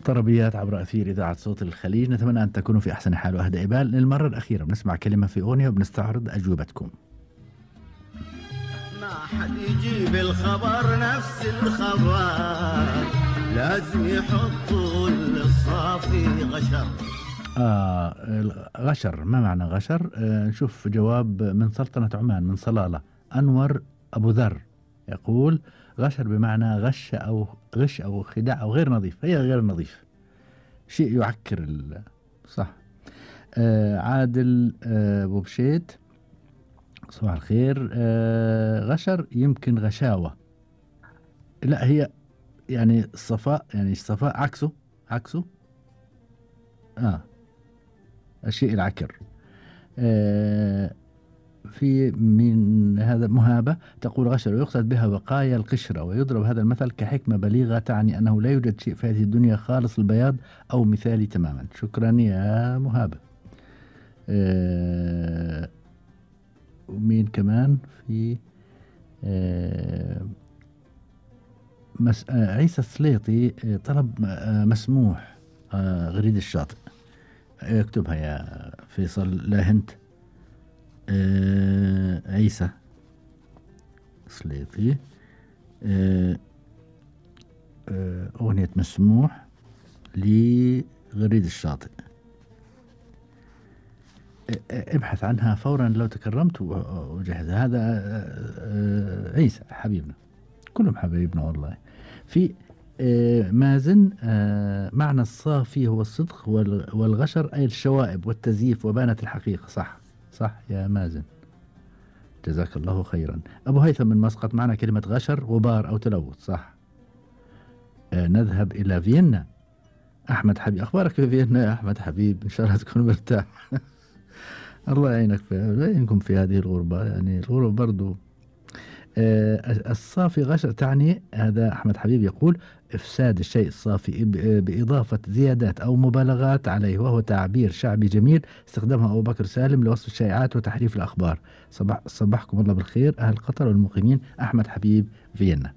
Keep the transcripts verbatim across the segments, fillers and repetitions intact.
طربيات عبر أثير إذاعة صوت الخليج. نتمنى أن تكونوا في أحسن حال وأهدى بال. للمرة الأخيرة بنسمع كلمة في أغنية وبنستعرض أجوبتكم. ما حد يجيب الخبر نفس الخبر، لازم يحطوا الصافي غشر. آه غشر، ما معنى غشر؟ آه نشوف جواب من سلطنة عمان من صلالة. أنور أبو ذر يقول غشر بمعنى غش أو غش أو خداع أو غير نظيف، هي غير نظيف، شيء يعكر صح. آه عادل آه أبو بشيت صباح الخير. آه غشر يمكن غشاوة، لا هي يعني الصفاء، يعني الصفاء عكسه عكسه آه الشيء العكر. آه في من هذا مهابة تقول غشر ويقصد بها بقايا القشرة، ويضرب هذا المثل كحكمة بليغة تعني أنه لا يوجد شيء في هذه الدنيا خالص البياض أو مثالي تماما. شكرا يا مهابة. آه ومين كمان في آه مس آه عيسى السليطي آه طلب آه مسموح آه غريد الشاطئ. اكتبها يا فيصل لا هنت. آه عيسى سليطي آه آه أغنية مسموح لغريد الشاطئ. آه ابحث عنها فورا لو تكرمت وجهزها. هذا آه عيسى حبيبنا، كلهم حبايبنا والله. في آه مازن آه معنى الصافي هو الصدق، والغشر أي الشوائب والتزييف وبانت الحقيقة. صح صح يا مازن، جزاك الله خيرا. أبو هيثم من مسقط معنا كلمة غشر غبار أو تلوث. صح. آه نذهب إلى فيينا. أحمد حبيب، أخبارك في فيينا يا أحمد حبيب؟ إن شاء الله تكون مرتاح. الله يعينك في يعينكم في هذه الغربة، يعني الغربة برضو. آه الصافي غشر تعني، هذا أحمد حبيب يقول إفساد الشيء الصافي بإضافة زيادات أو مبالغات عليه، وهو تعبير شعبي جميل استخدمه أبو بكر سالم لوصف الشائعات وتحريف الأخبار. صباح صباحكم الله بالخير أهل قطر والمقيمين. أحمد حبيب فيينا.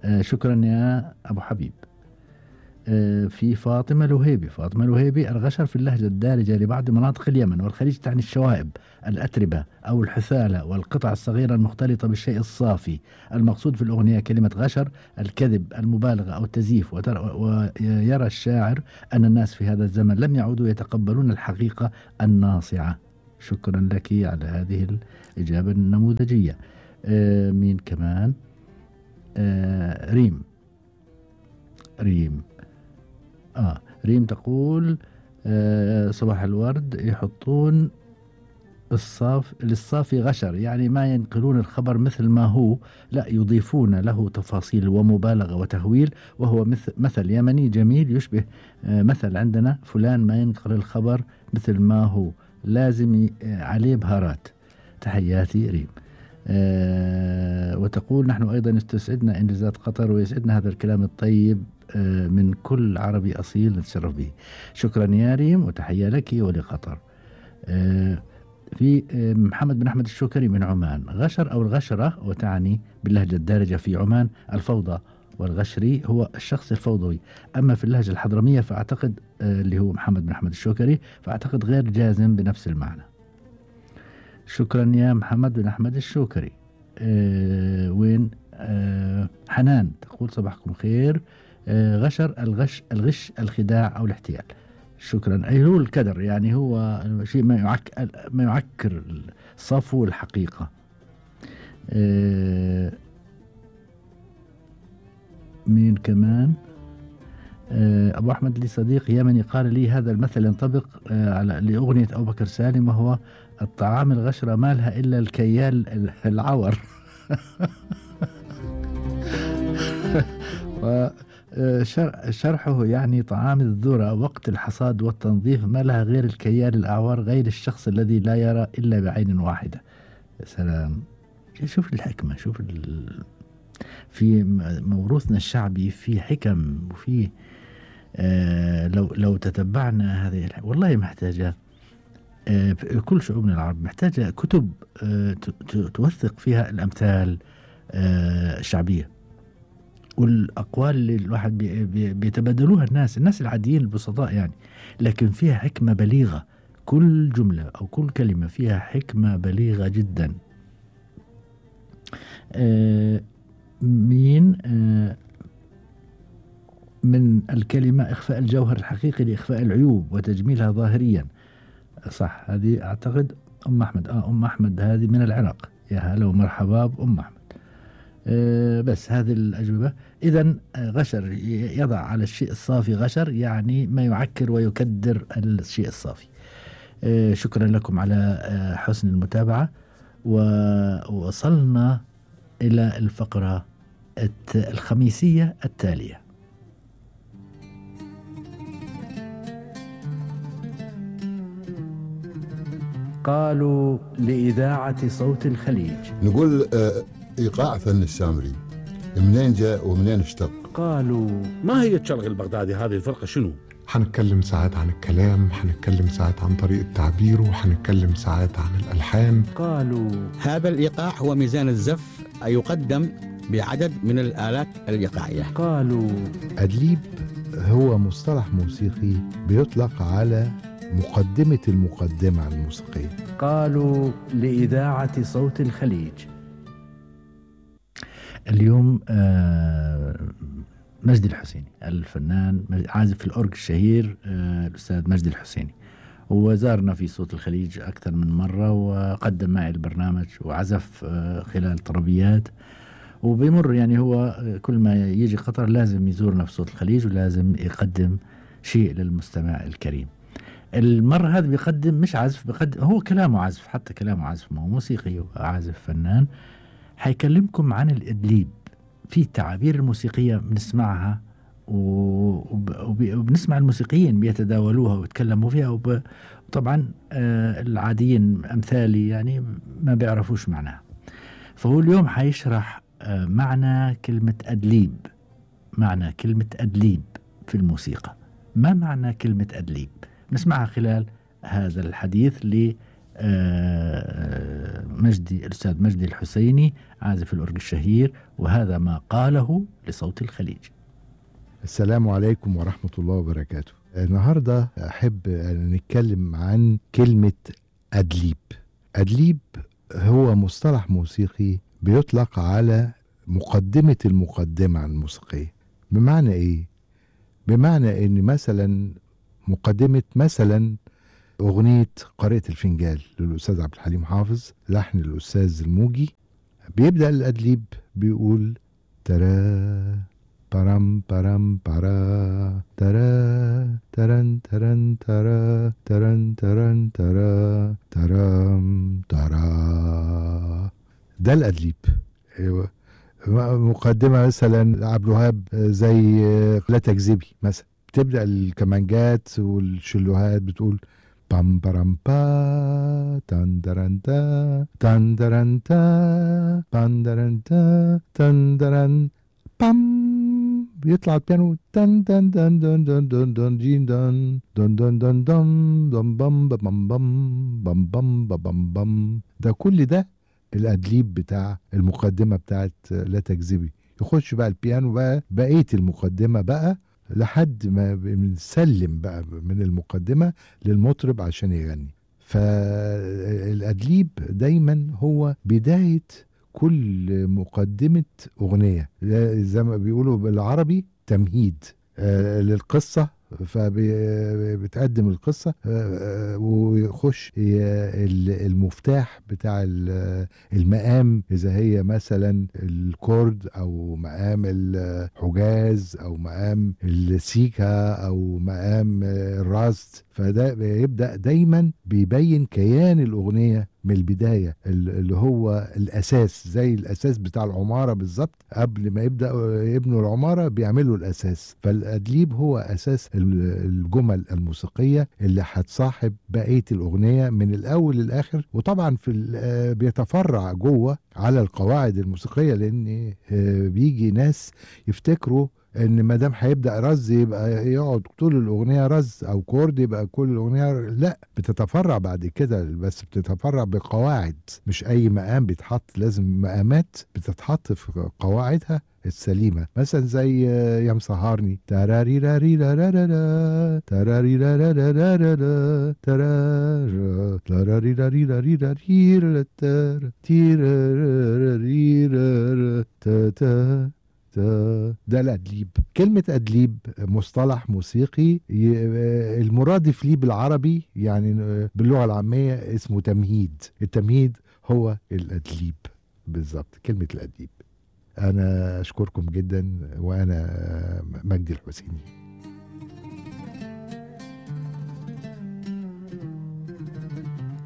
آه شكرا يا أبو حبيب. آه في فاطمة الوهيبي. فاطمة الوهيبي الغشر في اللهجة الدارجة لبعض مناطق اليمن والخليج تعني الشوائب، الأتربة أو الحثالة والقطع الصغيرة المختلطة بالشيء الصافي. المقصود في الأغنية كلمة غشر الكذب، المبالغة أو التزييف. ويرى الشاعر أن الناس في هذا الزمن لم يعودوا يتقبلون الحقيقة الناصعة. شكرا لك على هذه الإجابة النموذجية. آه مين كمان؟ آه ريم. ريم آه ريم تقول آه صباح الورد. يحطون الصاف للصافي غشر، يعني ما ينقلون الخبر مثل ما هو، لا يضيفون له تفاصيل ومبالغة وتهويل، وهو مثل مثل يمني جميل يشبه آه مثل عندنا فلان ما ينقل الخبر مثل ما هو، لازم عليه بهارات. تحياتي ريم. آه وتقول نحن أيضا استسعدنا إنجازات قطر ويسعدنا هذا الكلام الطيب آه من كل عربي أصيل نتشرف به. شكرا يا ريم وتحية لك ولقطر. آه في آه محمد بن أحمد الشوكري من عمان. غشر أو الغشرة وتعني باللهجة الدارجة في عمان الفوضى، والغشري هو الشخص الفوضوي. أما في اللهجة الحضرمية فأعتقد آه اللي هو محمد بن أحمد الشوكري فأعتقد غير جازم بنفس المعنى. شكرا يا محمد بن أحمد الشوكري. أه وين أه حنان تقول صباحكم خير. أه غشر الغش الغش الخداع أو الاحتيال. شكرا. أي هو الكدر، يعني هو شيء ما يعك ما يعكر صفو الحقيقة. أه مين كمان؟ أه أبو أحمد لي صديق يمني قال لي هذا المثل ينطبق أه على لأغنية أبو بكر سالم، وهو الطعام الغشرة ما لها إلا الكيال العور. وشرحه يعني طعام الذرة وقت الحصاد والتنظيف ما لها غير الكيال الأعور، غير الشخص الذي لا يرى إلا بعين واحدة. يا سلام، شوف الحكمة، شوف ال... في موروثنا الشعبي في حكم وفي آه لو لو تتبعنا هذه والله محتاجة آه كل شعوبنا العرب محتاجة كتب آه توثق فيها الأمثال آه الشعبية. والأقوال اللي الواحد بي بي بيتبادلوها الناس الناس العاديين البسطاء يعني، لكن فيها حكمة بليغة، كل جملة أو كل كلمة فيها حكمة بليغة جدا. آه مين آه من الكلمة إخفاء الجوهر الحقيقي لإخفاء العيوب وتجميلها ظاهريا. صح، هذه أعتقد أم أحمد. آه أم أحمد هذه من العراق. يا هلا ومرحبا بأم أحمد. أه بس هذه الأجوبة. إذن غشر يضع على الشيء الصافي غشر، يعني ما يعكر ويكدر الشيء الصافي. أه شكرا لكم على أه حسن المتابعة، ووصلنا إلى الفقرة الخميسية التالية. قالوا لإذاعة صوت الخليج. نقول آه إيقاع فن السامري منين جاء ومنين اشتق؟ قالوا ما هي الشرق البغدادي؟ هذه الفرقة شنو؟ حنتكلم ساعات عن الكلام، حنتكلم ساعات عن طريقة تعبيره، وحنتكلم ساعات عن الألحان. قالوا هذا الإيقاع هو ميزان الزف، يقدم بعدد من الآلات الإيقاعية. قالوا أدليب هو مصطلح موسيقي بيطلق على مقدمة المقدمة الموسيقية. قالوا لإذاعة صوت الخليج. اليوم مجدي الحسيني الفنان عازف الأورج الشهير الأستاذ مجدي الحسيني، هو زارنا في صوت الخليج أكثر من مرة وقدم معي البرنامج وعزف خلال طربيات، وبيمر يعني هو كل ما يجي قطر لازم يزورنا في صوت الخليج ولازم يقدم شيء للمستمع الكريم. المرة هذا بيقدم مش عزف، بيقدم هو كلامه عزف، حتى كلامه عزف، ما هو موسيقي وعازف فنان. حيكلمكم عن الإدليب في التعابير الموسيقية بنسمعها وبنسمع الموسيقيين بيتداولوها ويتكلموا فيها، وطبعا آه العاديين أمثالي يعني ما بيعرفوش معناها. فهو اليوم حيشرح آه معنى كلمة أدليب، معنى كلمة أدليب في الموسيقى. ما معنى كلمة أدليب؟ نسمعها خلال هذا الحديث ل مجدي الأستاذ مجدي الحسيني عازف الأورج الشهير، وهذا ما قاله لصوت الخليج. السلام عليكم ورحمة الله وبركاته. النهاردة أحب أن نتكلم عن كلمة أدليب. أدليب هو مصطلح موسيقي بيطلق على مقدمة المقدمة الموسيقية. بمعنى إيه؟ بمعنى إن مثلا مقدمة مثلا أغنية قارئة الفنجال للأستاذ عبد الحليم حافظ، لحن الأستاذ الموجي، بيبدأ الأدليب بيقول ترى برام برام برا ترى ترن ترن ترى ترن ترن ترى ترام ترى. ده الأدليب. مقدمة مثلا عبد الوهاب زي لا تكذبي مثلا، بتبدأ الكمانجات والشلوهات بتقول بام برام با تندرن تا تندرن تا تندرن تا تندرن بام، بيطلع البيانو تن تن تن دن دن دن دن جين دن دن دن دن دن دن بام بام بام بام بام بام بام. ده كل ده الأدليب بتاع المقدمة بتاعت لا تكذبي. يخش بقى البيانو بقى بقية المقدمة بقى لحد ما بنسلم بقى من المقدمة للمطرب عشان يغني. فالأدليب دايما هو بداية كل مقدمة أغنية، زي ما بيقولوا بالعربي تمهيد آه للقصة، فبتقدم القصة ويخش المفتاح بتاع المقام، إذا هي مثلا الكورد أو مقام الحجاز أو مقام السيكا أو مقام الراست. فده بيبدأ دايما بيبين كيان الأغنية من البداية، اللي هو الأساس، زي الأساس بتاع العمارة بالظبط. قبل ما يبدأ يبنوا العمارة بيعملوا الأساس. فالأدليب هو أساس الجمل الموسيقية اللي هتصاحب بقية الأغنية من الأول للآخر. وطبعا في بيتفرع جوه على القواعد الموسيقية، لأن بيجي ناس يفتكروا ان ما دام هيبدا رز يبقى يقعد طول الاغنيه رز، او كورد يبقى كل الاغنيه. لا، بتتفرع بعد كده، بس بتتفرع بقواعد. مش اي مقام بيتحط، لازم مقامات بتتحط في قواعدها السليمة، مثلا زي يا مسهرني تراري راري رارارا تراري رارارا ترارا تراري راري راري راري تيراري تا ده الأدليب. كلمة أدليب مصطلح موسيقي المرادف ليه بالعربي يعني باللغة العامية اسمه تمهيد. التمهيد هو الأدليب بالضبط، كلمة الأدليب. أنا أشكركم جدا، وأنا مجدي الحسيني.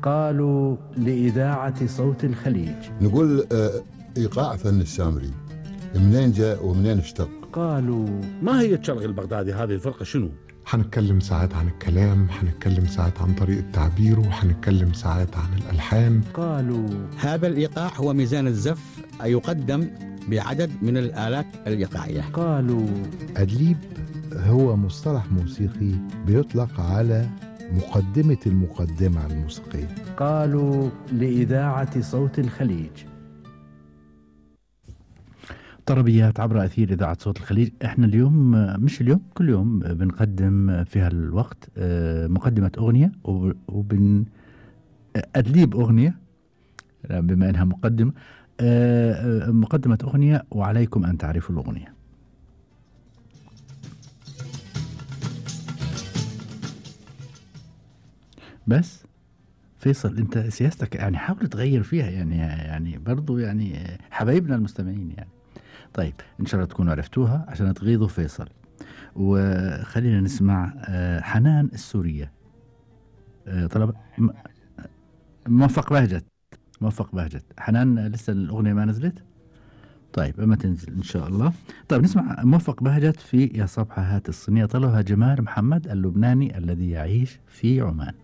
قالوا لإذاعة صوت الخليج. نقول آه، إيقاع فن السامري منين جاء ومنين اشتق؟ قالوا ما هي الشرق البغدادي هذه الفرقة شنو؟ هنتكلم ساعات عن الكلام، هنتكلم ساعات عن طريقة تعبيره، وهنتكلم ساعات عن الألحان. قالوا هذا الإيقاع هو ميزان الزف يقدم بعدد من الآلات الإيقاعية. قالوا أدليب هو مصطلح موسيقي بيطلق على مقدمة المقدمة الموسيقية. قالوا لإذاعة صوت الخليج. طربيات عبر أثير إذاعة صوت الخليج. احنا اليوم مش اليوم كل يوم بنقدم في هالوقت مقدمة أغنية وبن أدليب أغنية بما أنها مقدمة مقدمة أغنية، وعليكم أن تعرفوا الأغنية. بس فيصل انت سياستك يعني حاول تغير فيها، يعني يعني برضو يعني حبايبنا المستمعين يعني. طيب ان شاء الله تكونوا عرفتوها عشان تغيظوا فيصل. وخلينا نسمع حنان السورية. طلب موفق بهجت موفق بهجت حنان لسه الأغنية ما نزلت. طيب اما تنزل ان شاء الله. طيب نسمع موفق بهجت في يا صبحة هات الصينية. طلبها جمال محمد اللبناني الذي يعيش في عمان.